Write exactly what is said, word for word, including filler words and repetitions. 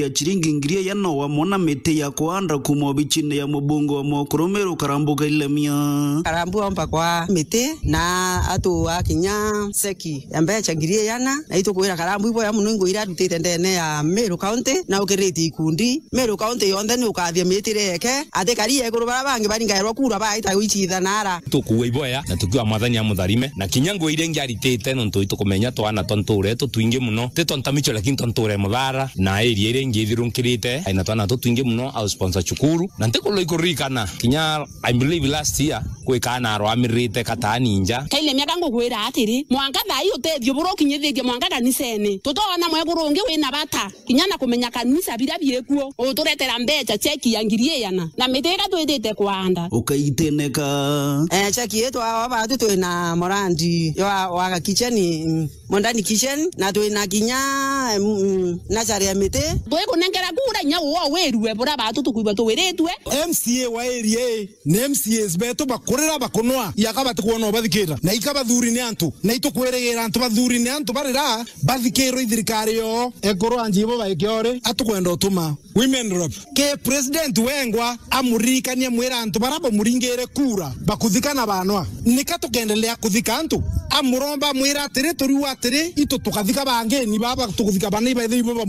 ya ciringi ngiri igana wamwe na miti ya kuanda kuuma obicine ya mubunge wa Mokuru Meru Karambu Kailemia. Karambu omba kwa miti na atu akinya seki ya mbeca ngiri igana, na itukwira Karambu iboya muno ingo iria arutite ndene ya Meru County na ukiritie ikundi. Meru County yonthe ni ukathia mitire yeke, ati kari iguru bara bangi baringairwa kura baita gwicithana ara. Tukuua iboya na tukiuga Mwathani amutharime, na kinya ngugi iria ingi aritite, nontu itukumenya twana twa ntuure tutwingi muno, ti twa ntamicho, lakini twa ntuure muthara, na area iria ingi ithirunkirite, ina twana tutwingi muno, au sponsor cukuru, na ntikurwa ikuririkana, kinya I believe last year, kwi kaana arwamirite kataani nja. Kaile miaka ngugwira atiri, mwanka thaa ii utethio buria ukinyithitie mwanka kanisene, tutoona mwekuru ungi wina bata. Kinya na kumenya kanisa biria biikuo, uturetera mbeca, cheki ya ngiri igana, na miti iria twitite kuanda. Ukaiteneka. Eh, cheki yetu awa batu twina morandi wa, wa kicheni, mm, Mondani Kitchen, na twina kinya, mm, mm, nursery ya miti. Twikunengera kura inya uo wirue buria batu tukwigua tuwiritue. M C A wa area ii ni M C As betu bakurira bakunwa, yaka batikwona ubathikira, na ika bathuri ni antu, na itukwirigira antu bathuri ni antu barira bathikirwe i thirikari yoo. Ekuru anji ibo baikiori, atukwenda utuma women rep. Ke president wengwa amuririkania mwira antu bara bamuringire kura bakuthika na banwa. Nika tukendelea kuthika antu? Amuromba mwira atiri, turiu atiri, itu tukathika bangeni baba tukuthika bana ibaithe ibo